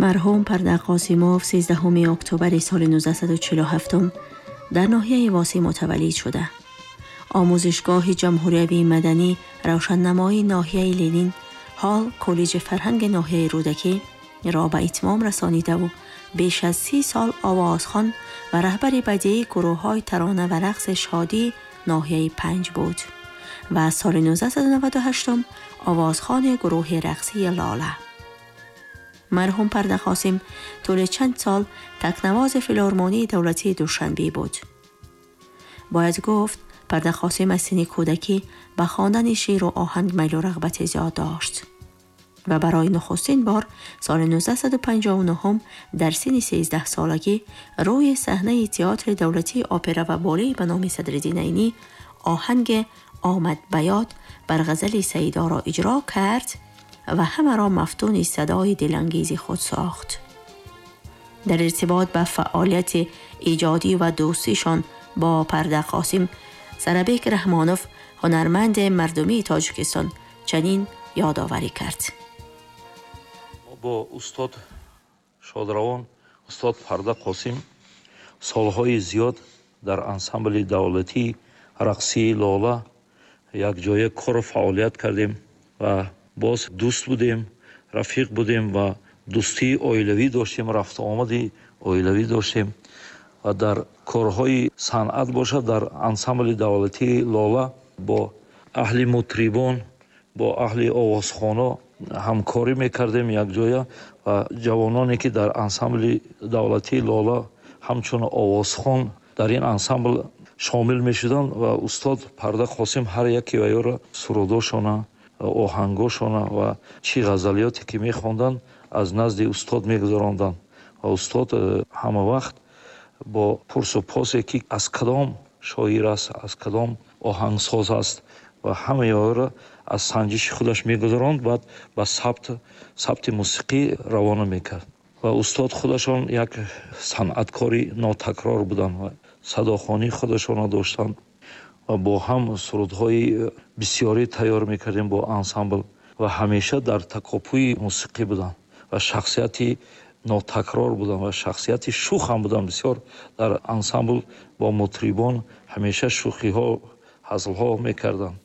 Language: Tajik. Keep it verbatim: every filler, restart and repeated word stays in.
Марҳум Парда Қосимов сездаҳуми октябри соли нуздаҳсаду чилу ҳафтум дар ноҳияи Восеъ мутаваллид шуда. Омӯзишгоҳи ҷумҳуриявии маданӣ равшаннамоии ноҳияи Ленин, ҳол коллеҷи фарҳанги ноҳияи Рӯдакӣ را به اتمام رسانیده و بیش از سی سال آوازخوان و رهبر بدیعی گروه‌های ترانه و رقص شادی ناحیه پنج بود و از سال نوزده نود و هشت آوازخوان گروه رقصی لاله. مرحوم پرده قاسم طول چند سال تکنواز فیلارمونی دولتی دوشنبه بود. باید گفت پرده قاسم از سن کودکی به خواندن شعر و آهنگ میل و رغبت زیاد داشت و برای نخستین بار سال نوزده پنجاه و نه در سن سیزده سالگی روی صحنه تئاتر دولتی اپرا و باله به نام صدرالدین عینی آهنگ آمد بیاد بر غزل سیدا را اجرا کرد و همه را مفتون صدای دلانگیز خود ساخت. در ارتباط به فعالیت ایجادی و دوستیشان با پرده قاسم، سربیک رحمانوف هنرمند مردمی تاجیکستان چنین یادآوری کرد: با استاد شادروان استاد پرده قاسم سالهای زیاد در انسامبل دولتی رقصی لاله یک جای کار و فعالیت کردیم و باز دوست بودیم، رفیق بودیم و دوستی оилавӣ доштем, рафту омади оилавӣ доштем ва дар корҳои санъат бошад, дар ансамбли давлатии Лола бо аҳли мутрибон, бо аҳли овозхоно ҳамкорӣ мекардем якҷоя ва ҷавононе ки дар ансамбли давлатии Лола ҳамчун овозхон дар ин ансамбл шомил мешуданд ва устод Парда Қосим ҳар яке ваёро сурудошона, оҳангошона ва чӣ ғазалиёте ки мехонданд аз назди устод мегузаронданд ва устод ҳама вақт бо пурсу посе ки аз кадом шоир аст, аз кадом оҳангсоз аст ва ҳамаи онро аз санҷиши худаш мегузаронд, баъд ба сабт, сабти мусиқӣ равона мекард. Ва устод худашон як санъаткори нотакрор буданд ва садохонии худашонро доштанд ва бо ҳам сурудҳои бисёре тайёр мекардем бо ансамбл ва ҳамеша дар такопӯи мусиқӣ буданд ва шахсияти нотакрор буданд ва шахсияти шӯх ҳам буданд. Бисёр дар ансамбл бо мутрибон ҳамеша шӯхиҳо, ҳазлҳо мекарданд.